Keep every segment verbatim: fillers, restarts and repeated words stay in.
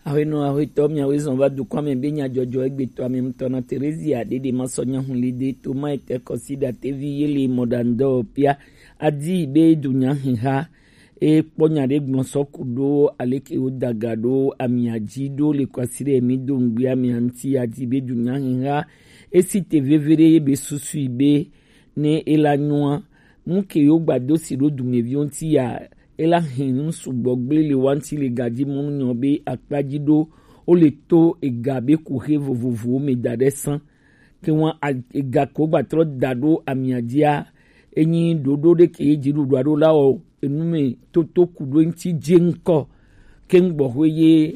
Ahwenɔ ahwetɔ, miawe zɔn va dukɔa mɛ be nyajɔjɔ egbetɔ amɛmutɔ na Terezia ɖeɖe ma sɔ nyahun li de to ma etɛ kɔsi ɖatevi ye le mɔɖandɔ pia adi be du nyahiha e kpɔ nya ɖe gblɔ sɔ ku ɖo aleke wo daga ɖo amia ji ɖo le kwasi ɖe mi do ŋgbe amia ŋti adi be du nyahiha e si te veve ɖe ye be susui be ne e la nyɔa. Nu ke yo gba do si ɖo dumeviwo ŋti ya e la hɛn nu sugbɔ gble le wa ŋti le gaji mɔnu nyɔ be akpa ji ɖo wo le to ega be kuxe vovovowo me da ɖe san. Ke wan a- ega ko gba trɔ da ɖo amia jia, enyi ɖoɖo ɖe ke ye dziɖuɖua ɖo la wɔ enu me toto ku ɖo ŋti je ŋkɔ ke ŋgbɔxwe ye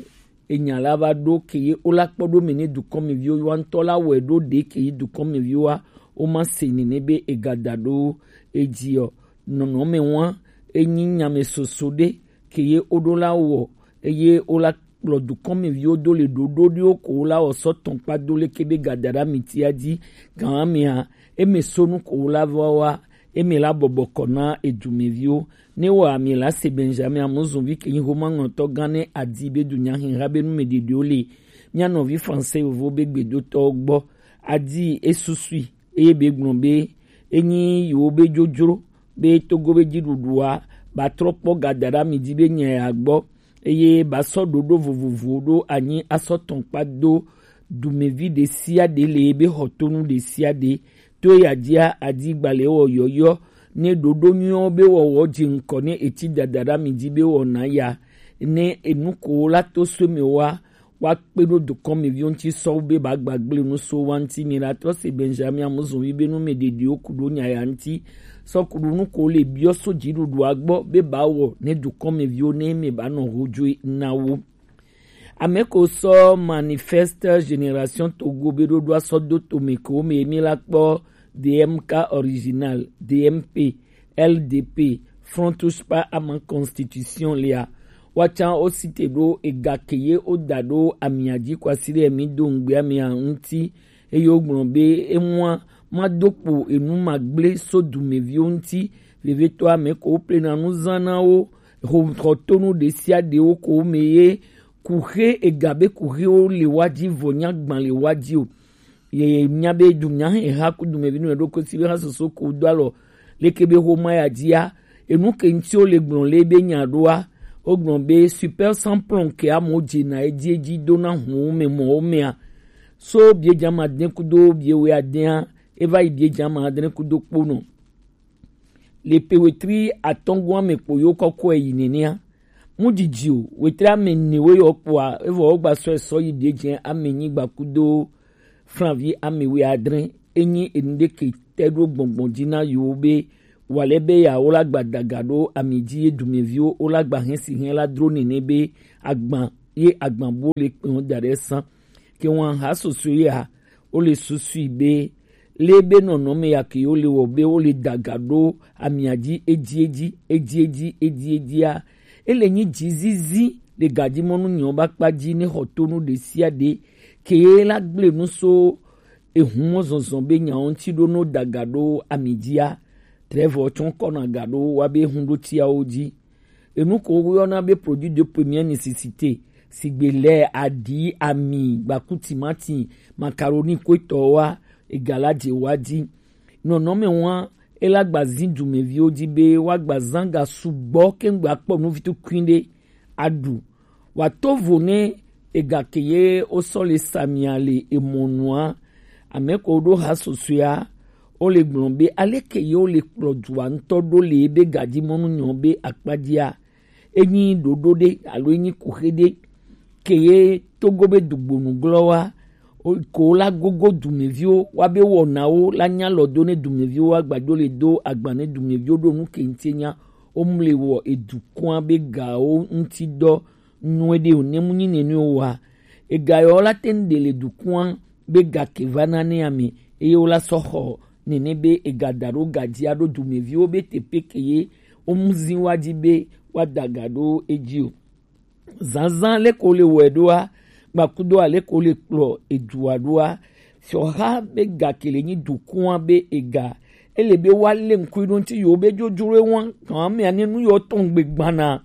enya la va ɖo ke ye wo la kpɔ ɖo me ne dukɔmeviwo wa ŋtɔ la wɔe ɖo ɖe ke ye dukɔmeviwoa wo ma se nene be ega da ɖo edzi ɔ. Nɔnɔme wa enyi nyame soso ɖe ke ye wo ɖo la wɔ eye wo la kplɔ dukɔmeviwo do le ɖoɖo ɖewo ko wo la wɔ sɔ tɔn kpa do leke be gadaɖa mitia dzi gan amea eme sonu ko wo la va wa eme la bɔbɔ kɔ na edumeviwo ne wɔ ame la se Benjamin Amozonvi ke nyi homa ŋlɔtɔ gan ne adi be du nyahiha be nu me ɖeɖewo le mia nɔvi français yovo be gbedotɔwo gbɔ adi esusui eye be gblɔ be enyi yiwo be dzodzro be Togo be dziɖuɖua ba trɔ kpɔ gadaɖa mi dzi be nya ya gbɔ eye ba sɔ ɖoɖo vovovowo ɖo anyi asɔ tɔn kpa do dumevi ɖe sia ɖe le ebe xɔtonu ɖe sia ɖe to eya dzia adi gbalẽ wɔ yɔyɔ ne ɖoɖo nyuiwo be wɔwɔ dze ŋkɔ ne eti dadaɖa mi dzi be wɔna ya ne enuko la to so me wa wa kpe ɖo dukɔmeviwo ŋuti sɔwu be ba gbagble nu so wa ŋuti mi la trɔ se Benjamin Amozonvi be nu me ɖeɖiwo ku ɖo nya ya ŋuti sɔ ku ɖo nu ko le biɔ so dziɖuɖua gbɔ be ba wɔ ne dukɔmeviwo ne me ba nɔ ho dzoe na wo. Ame ko sɔ manifeste Génération Togo be ɖoɖoa sɔ do tome ko me mi la kpɔ D M K original, D M P, L D P, Front Touche Pas à ma constitution lia. Wa can o site ɖo ega ke ye o da ɖo amia dzi kwasi ɖe mi do ŋgbe amia ŋuti eye wogblɔ be emua ma do kpo enu ma gble so dumeviwo ŋuti. Vevetɔ ame ko wo plena nu zã na wo xɔ- xɔtonu ɖe sia ɖe wo ko wo me ye kuxe ega be kuxewo le wa dzi vɔ nya gban le wa dzi o. Ye nya be du nya he ha ku dumevi nu ɖo ko si be ha soso ko do alɔ leke be xoma ya dzia enu ke ŋuti wo le gblɔ le be nya ɖoa wo gblɔ be super sans plomb ke amo dze na edzi edzi do na hu me mɔ wo mea so bie dza ma de kudo bie we adea eva yi bie dza ma de kudo kponɔ le pe wetri atɔngua me kpo yo kɔkɔe yi nenea mu didi o wetri ame ne we yɔ kpoa evɔ wo gba sɔ esɔ yi bie dze ame nyigba kudo flanvi ame we adre enyi enu ɖe ke te ɖo gbɔngbɔn dzi na yewo be wale be ya wo la gba daga ɖo ami dzi ye dumeviwo wo la gba hɛn si hɛn la dro nene be agban ye agban bo le kpe wo da ɖe san ke wan ha soso ya wo le susui be le be nɔnɔme ya ke wo le wɔ be wo le daga ɖo amia dzi edzi edzi edzi edzi edzi edzia ele nyi dzizizi le gadimɔnu nyɔ ba kpa dzi ne xɔ tonu ɖe sia ɖe ke la gble nu so ehun mɔ zɔzɔ be nyawo ŋuti ɖo no daga ɖo ami dzia trevɔ tsɔ kɔna ga ɖo wa be hun ɖo tiawo dzi enu ko woyɔna be produit de première nécessité sigbe lɛ aɖi ami gbaku timati macaroni koetɔ wa ega la dze wa dzi nɔnɔme wa ela gba zi dumeviwo dzi be wa gba zã ga sugbɔ kengbe akpɔ nuvitukui ɖe aɖu wa to vo ne ega ke ye wo sɔ le samia le emɔnua ame ko ɖo ha sosoea wo le gblɔ be ale ke ye wo le kplɔ dua ŋutɔ ɖo le ebe gadimɔnu nyɔ be akpadzia enyi ɖoɖo ɖe alo enyi kuxe ɖe ke ye togo be dugbonu glɔ wa ko la gogo dumeviwo wa be wɔnawo la nya lɔ do ne dumeviwo wa gbadzo le do agba ne dumeviwo ɖo nu ke ŋuti nya wo mle wɔ edukɔa be gawo ŋuti dɔ nyuie ɖe o ne mu nyi nene o wa ega yɔ la te ŋu ɖe le dukɔa be ga ke va na ne ame eye wo la sɔ xɔ nene be ega da ɖo ga dzi aɖo dumeviwo be teƒe ke ye wo mu zi wa dzi be wa da ga ɖo edzi o. Zazã leke wo le wɔe ɖoa, gbakudo aleke wo le kplɔ edua ɖoa, fiɔha be ga ke le nyi dukɔa be ega. Ele be wa le ŋkui ɖo ŋuti yewo be dzodzro ewa kan amea ne nu yewo tɔn gbe gbana.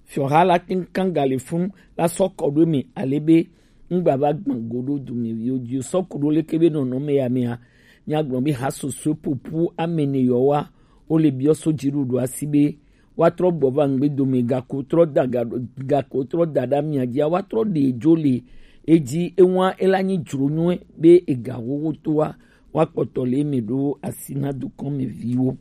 Fiɔha la tɛnkan galefun la sɔ kɔ ɖo eme ale be ŋgba va gbɔn go ɖo dumeviwo ji o. Sɔ ku ɖo leke be nɔnɔme ya mea, míagblɔ be ha soso popo ame ne yɔ wa, wo le biɔ so dziɖuɖu asi be woatrɔ gbɔ va ŋgbe dome, gako trɔ da ga-, gako trɔ da ɖe amia dzia, woatrɔ ɖe dzo le edzi, ewa ela nyi dzro nyuie be ega xoxo toa, woakpɔtɔ le eme ɖo asi na dukɔmeviwo.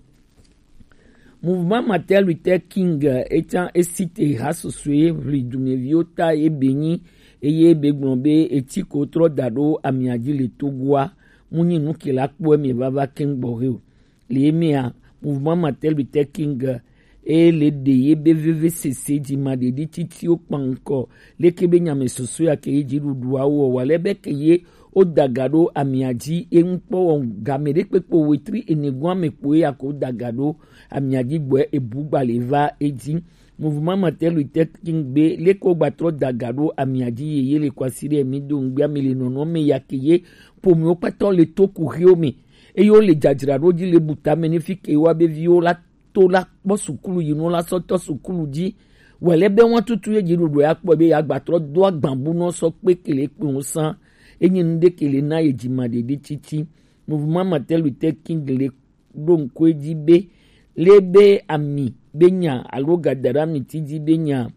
Mouvement Martin Luther King, eh, etsã esi te ha susue ʋli dumeviwo ta ye be nyi, eye be gblɔ be eti ko trɔ da ɖo amia dzi le Togoa, mu nyi nu ke la kpɔe mi vava keŋ gbɔ he o. Le emea, Mouvement Martin Luther King, eh, e le ɖe ye be vevesese dzi ma ɖeɖi titiwo kpankɔ, leke be nyame soso ya ke ye dziɖuɖuawo wɔ, wa le be ke ye wo da ga ɖo amia dzi, e ŋu kpɔ wɔ game ɖe kpekpe wetri ene gɔ̃ ame kpoe ya ko da ga ɖo amia dzi gbɔe ebu gba le va edzi. Mouvement Martin Luther King be leke wo gba trɔ da ga ɖo amia dzi ye, ye le kwasi ɖe mi do ŋgbe ame le nɔnɔ me ya ke ye pomewo kpatɔ le to kuxiwo me. Eye wo le dzadzraɖo dzi le bu tame ne fi ke wa be viwo la to la kpɔ sukulu yi nu la sɔ tɔ sukulu dzi. Wɛlɛ be wɔn tutu ye dziɖuɖu ya kpɔ be ya gba trɔ do agbabu nɔ sɔ kpe kele kpe ŋu san. Enyi nu ɖe kele na ye dzima ɖeɖi titi. Mouvement Martin Luther King le ɖo ŋku edzi be, le be ami be nya alo gadara mi ti dzi be nya.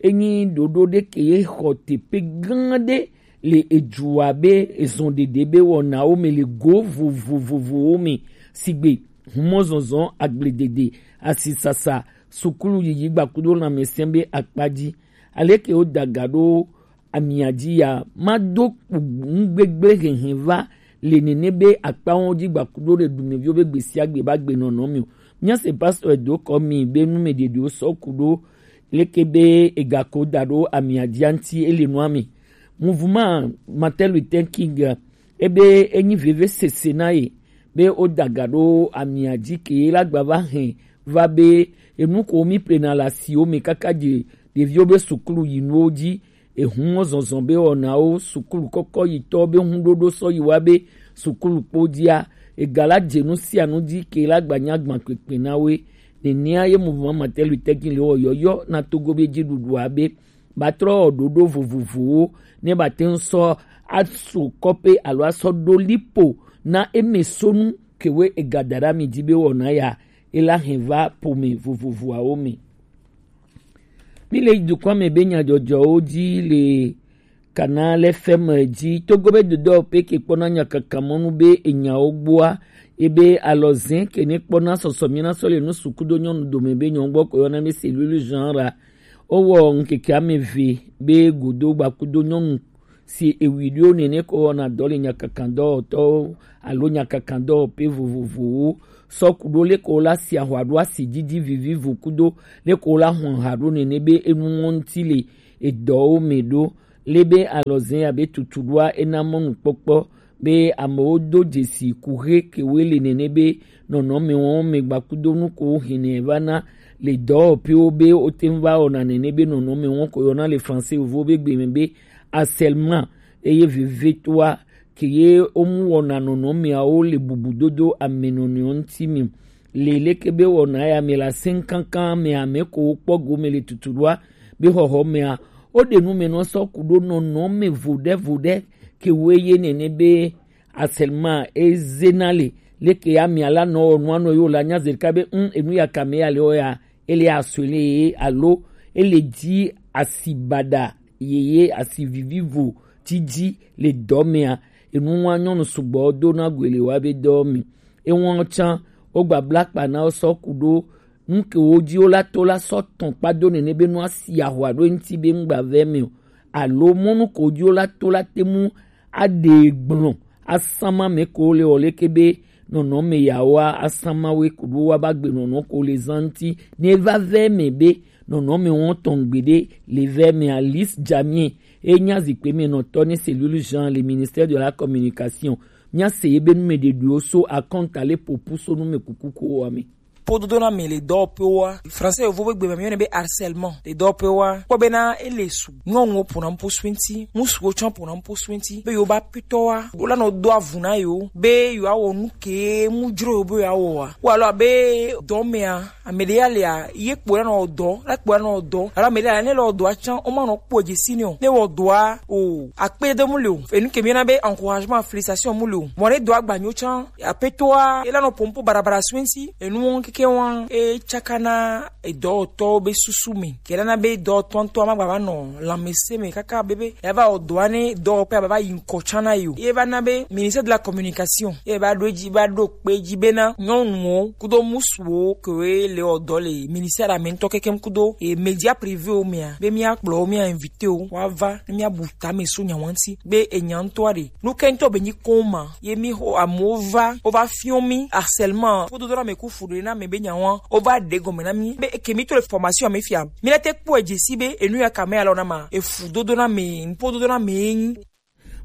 Enyi ɖoɖo ɖe ke ye xɔ teƒe gã ɖe le edzua be ezɔn ɖeɖe be wɔnawo me le go vovovovowo me, sigbe humɔzɔzɔ, agbledede, asisasa, sukulu yiyi gbakudo lãmesẽ be akpa dzi. Aleke wo da ga ɖo amia dzi ya, ma do kpu ŋugbegble hehe va le nene be akpawo dzi gbakudo ɖe dumeviwo be gbe sia gbe ba gbe nɔnɔ mi o. Mía se pastor do kɔ mi be nu me ɖeɖewo sɔ ku ɖo leke be egako da ɖo amia dzi ŋuti ele nua mi. Mouvement Martin Luther King, ebe enyi veve sese na ye be wo da ga ɖo amia dzi ke la gba va hɛn va be enu ko mi plena le asiwo me kaka dze ɖeviwo be sukulu yinuwo dzi, ehun zɔzɔ be wɔnawo, sukulu kɔkɔ yitɔ be hunɖoɖo sɔ yi wa be sukulu kpo dzia, ega la dze nu sia nu dzi ke la gba nya gban kpekpe na we. Nenea ye Mouvement Martin Luther King le wɔ yɔyɔ na Togo be dziɖuɖua be ba trɔ wɔ ɖoɖo vovovowo ne ba te ŋu sɔ aso kɔƒe alo asɔ ɖo lipo na eme sonu ke we ega da ɖe ami dzi be wɔna ya e la hɛn va ƒome vovovoawo me. Mi le dukɔa me be nyadzɔdzɔwo dzi le Canal F M dzi. Togo be dodɔ pe ke kpɔna nyakakamɔnu be enyawo gbɔa, ebe alɔzɛ ke ne kpɔna sɔsɔ mi na sɔ le nu sukudo nyɔnu dome be nyɔnu gbɔ ko yɔna be cellule genre. Wowɔ ŋkeke ame eve be godo gbakudo nyɔnu si ewi ɖewo nene ko wɔna dɔ le nyakakandɔwɔtɔwo alo nyakakandɔwɔƒe vovovowo. Sɔ ku ɖo leko la si ahwa ɖo asi didi vivivo kudo leko la hɔn ha ɖo nene be enu ŋɔ ŋuti le edɔwo me ɖo. Le be alɔzɛ abe tutuɖoa ena mɔnukpɔkpɔ be amewo do dzesi kuxe kewoe le nene be nɔnɔme wɔn me gbakudo nu ko hɛnɛ va na le dɔwɔƒewo be wote ŋu va wɔna nene be nɔnɔme wɔn ko yɔna le français vovo be gbe me be harcèlement. Eye vevetoa ke ye womu wɔna nɔnɔmeawo le bubudodo ame nɔnɔewo ŋuti me. Le leke be wɔna ya me la sɛn kankan me ame ko wokpɔ gome le tutuɖoa be xɔxɔ mea, woɖe nu me nɔ sɔ ku ɖo nɔnɔme voɖevoɖe ke woe ye nene be harcèlement ezena le. Leke ya mia la nɔ wɔ nua nɔ yo la nya zerika be un enu ya kame ya le wɔ ya, ele asɔe le ye alo ele dzi asi baɖa yeye asi vivivo didi le dɔ mea. Enu wa nyɔnu sugbɔ do na goe le wa be dɔ mi. Ewa tsã wo gbabla kpa na wo sɔ ku ɖo nu ke wo dzi wo la to la sɔ tɔn kpa do nene be nu asi ahwa ɖo eŋuti be ŋgba vɛ me o. Alo mɔnu ko dzi wo la to la te mu aɖe gblɔ asama me ko le o leke be nɔnɔme yawoa asama we kuɖo wa ba gbe nɔnɔ ko le zan ŋuti ne va vɛ me be nɔnɔme wɔn tɔn gbeɖe le vɛ me. Alice Jamie e nya zikpe me nɔtɔ ne cellule genre le ministère de la communication. Mia se ye be nu me ɖeɖewo so akɔnta le popu so nu me kuku ko wa me. kpododoname le dɔwɔƒewoa. Français yovo be gbe me mi yɔnɛ be harcèlement le dɔwɔƒewoa. Kpɔ bena ele su. Nyɔnuwo ƒona nu ƒu suinti, ŋutsuwo tsã ƒona nu ƒu suinti, be yewo ba pitɔwa, wo la nɔ do avu na yewo, be yewoawɔ nu ke mu dzro yewo be yewoawɔa. Wo alo abe dɔ mea, ame ɖe ya lia, ye kpo la nɔ dɔ, la kpo la nɔ dɔ, alo ame ɖe ya ne le dɔa tsã, wo ma nɔ kpɔ dze si nɛ o. Ne wɔ dɔa o, akpe de mu le o. Enu ke mi yɔna be encouragement, félicitation mu le o. Mɔ ne dɔa gbanyo tsã, aƒetɔa, ela nɔ ƒom ƒu barabara suinti, enuwo keke wa, e tsaka na edɔwɔtɔwo be susu me. Ke la na be dɔwɔtɔ ŋutɔ ma gba va nɔ lãmesẽ me kaka be, be ya va wɔ dɔa ne dɔwɔƒea va va yi ŋkɔ tsã na yi o. Ye va na be ministère de la communication ye va ɖo edzi, va ɖo kpe edzi bena nyɔnuwo kudo ŋutsuwo kewoe le wɔ dɔ le ministère la me ŋutɔ kekem kudo e média privéwo mea, be mía kplɔ wo, mía invité wo, woava ne mía bu tame so nya wa ŋuti be enya ŋutɔa ɖe. Nu ke ŋutɔ be nyi koma ye mi xɔ amewo va, wova fiɔ mi harcèlement, kpododoname ku fuɖoɖoname be nya wa, wova ɖe gɔme na mi be eke mi to le formation me fia. Mi la te kpɔe dze si be enu ya ka me alɔ na ma, efu dodoname, kpododoname ye nyi.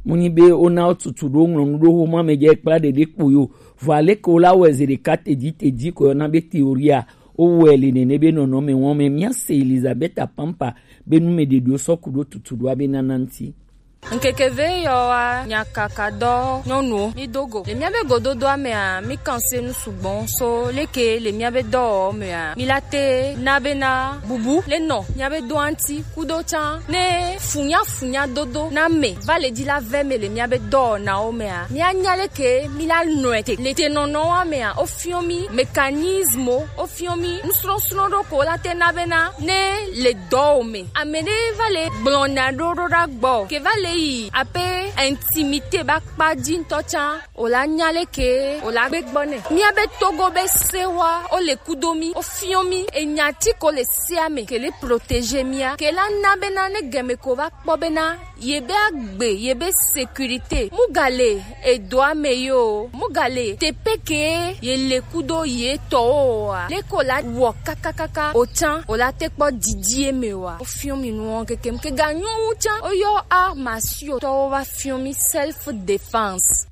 Mu nyi be wona wo tutu ɖo ŋlɔ nu ɖo xoma me dze kpla ɖeɖe kpo yo. Vɔ aleke wo la wɔe zi ɖeka tedzi tedzi ko yɔna be théorie a, wo wɔe le nene be nɔnɔme wɔn me. Mía se Elizabeth Apampa be nu me ɖeɖewo sɔ ku ɖo tutu ɖoa be nana ŋuti. Ŋkeke ve yɔ wa nyakaka dɔ nyɔnuwo mi do go. Le mía be gododoa mea, mi kan se nu sugbɔ so leke le mía be dɔwɔwɔ mea, mi la te na be na bubu le nɔ mía be doa ŋuti kudo tsã ne funya funya dodo na me va le dzi la vɛ me le mía be dɔwɔnawo mea, mía nya leke mi la nɔe te. Le te nɔnɔ wa mea, o fiɔ mi mécanisme, o fiɔ mi nusrɔsrɔ ɖo ko la te na be na ne le dɔ o me. Ame ɖe va le gblɔ nya ɖo ɖo ɖa gbɔ ke va le yi ape intimité ba kpa dzi ŋutɔ tsã. O la nya leke o la gbe gbɔ nɛ. Mía be Togo be sewa o le kudo mi, o fiɔ mi enya ti ko le sea me ke le protéger mía, ke la na bena ne gɛme ko va kpɔ bena ye be agbe, ye be sécurité mu ga le edoa me yo, mu ga le tepe ke ye le kudo ye tɔwo wa. Le ko la wɔ kakakaka o tsã o la te kpɔ didi e me wa. O fiɔ mi nuwo kekem ke ga nyɔ wu tsã o yɔ a masio tɔwo va fiɔ mi self défense.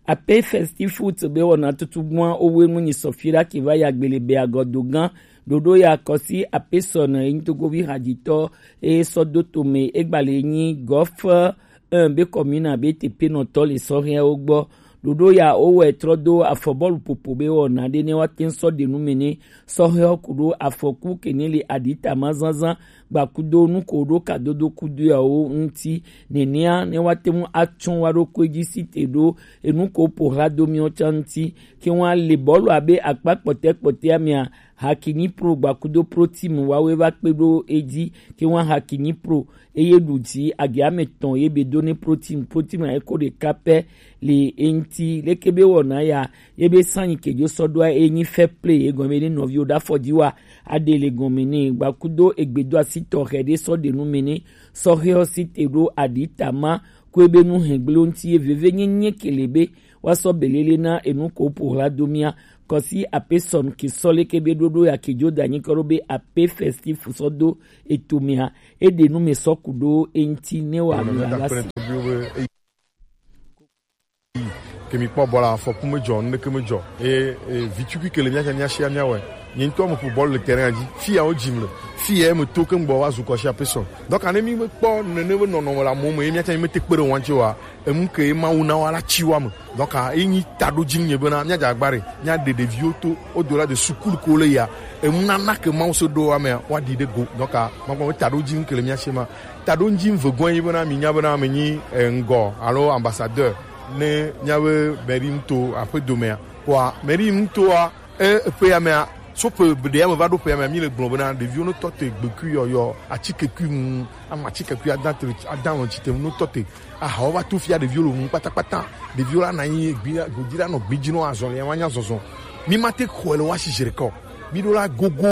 Ape Festive Foot be wɔna tutugbua owe nu nyi sɔfi ɖa ke va ya gbele be agɔdo gã. Ɖoɖo ya kɔsi ape sɔ ne enyi togovi hadzitɔ e sɔ do tome egbale nyi gɔf un be kɔmina be tepe nɔtɔ le sɔhɛwo gbɔ. Ɖoɖo ya wowɔe trɔ do afɔ bɔlu popo be wɔna ɖe ne woate ŋu sɔ ɖe nu me ne sɔhɛwo ku ɖo afɔku ke ne le aɖitama zazã gbakudo nu ko ɖo kadodo kudo yawo ŋuti. Nenea ne woate ŋu atsɔ wa ɖokui dzi si te ɖo enu ko ƒo hla do miwo tsã ŋuti. Ke woale bɔlu abe akpa kpɔtɛ kpɔtɛa mea, Hakini Pro gbakudo Pro Team wawe va kpe ɖo edzi. Ke wa Hakini Pro eye ɖu dzi agi ame etɔ̃ ye be do ne Pro Team. Pro Team a eko ɖeka pɛ le eŋuti. Leke be wɔna ya ye be sanyi ke dzo sɔ ɖoa e nyi fair play, egɔme ne nɔviwo ɖe afɔ dzi wa aɖe le gɔme ne gbakudo egbedo asi tɔxɛ ɖe sɔ ɖe nu me ne sɔhɛɔ si te ɖo aɖi tama ko ebe nu hɛgble ŋuti ye veve nyenye ke le be woasɔ belele na enu ko ƒo hla do mía. Kɔsi ape sɔn ke sɔ leke be ɖoɖo ya ke dzo da nyi kɔ ɖo be ape Festive sɔ do eto mea, eɖe nu me sɔ ku ɖo eŋuti ne wa mi la si. Ke mi kpɔ bɔla, afɔku me dzɔ, nu ɖeke me dzɔ. E, e, vi tukui ke le mía sia mía wɔe. Nye ŋutɔ me ƒo bɔlu le terrain dzi. Fi ya wo dzim le. Fi ya me to ke ŋgbɔ wa zu kɔsi ape sɔn. Donc, ne mi me kpɔ nene be nɔnɔme le amewo me, ye mía sia mi me te kpe ɖe ŋua ŋuti wa. Enu ke Mawu na wa la tsi wa me. Donc, ah, eyi nyi taɖodzi nye bena míadze agba ɖe, míaɖe ɖeviwo to, au-delà de sukulu ke wole yia, enunana ke Mawu se ɖo wa mea, woaɖi ɖe go. Donc, ah, makpɔ be taɖodzi ke le mía si ma. Taɖodzi vegɔe nyi bena, mi nya bena, menyi, eh, ŋgɔ alo ambassadeur ne míabe mairie nuto aƒedo mea. Kpɔa, mairie nutoa, E, ƒe ya mea, so ƒe ɖe ya me va ɖo ƒe ya mea, mi le gblɔ bena ɖeviwo ne tɔ te gbekui yɔyɔ, atike kui ŋu, ama atike kui ada te, ada lɔn tsi te nu tɔ te. Ahawo va to fia ɖeviwo le ŋu kpatakpata. Ɖeviwo la na anyi gbi, godi la nɔ gbi dzi nɔ azɔlia wa nya zɔzɔ. Mi ma te xɔe le wa si zi ɖeka o. Mi ɖo la gogo